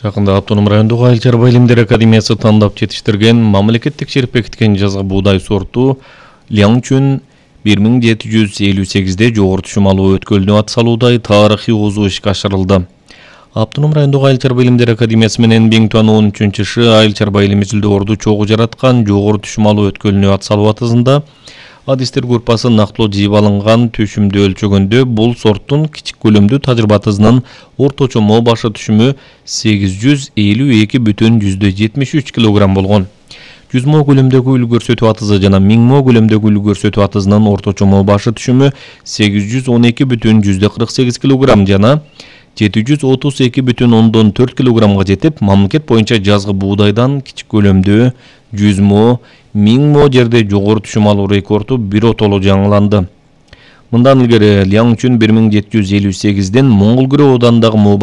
Жакында Автоном райондук Айыл чарба илимдер академиясы тандап жетиштирген мамлекеттик текшерип бекиткен жазгы буудай сорту Ляңчүн 1758-де жогору түшүм алуу өткөлүнө ат салуудай тарыхый озуу ишке ашырылды. Автоном райондук Айыл чарба илимдер академиясы менен 1013-шы айыл чарба илими жүлдөөрдү чогуу жараткан жогору түшүм алуу өткөлүнө ат салуу атызында адистер группасы нактылуу жыйып алынган түшүмдү өлчөгөндө бул сорттун кичик көлөмдүү тажрыйба атызынын орточо моо башы түшүмү 852,73 кг болгон. 100 моо көлөмдөгү үл көрсөтүү атызы жана 1000 моо көлөмдөгү үл көрсөтүү атызынын орточо моо башы түшүмү 812,48 кг жана 732,4 кг жетип, мамлекет боюнча жазгы буудайдан кичик көлөмдүү 100 моо, 1000 моо жерде жогору түшүм алуу рекорду биротоло жаңыланды. Мындан илгери Ляңчүн 1758-ден Моңгол Күрө оодандагы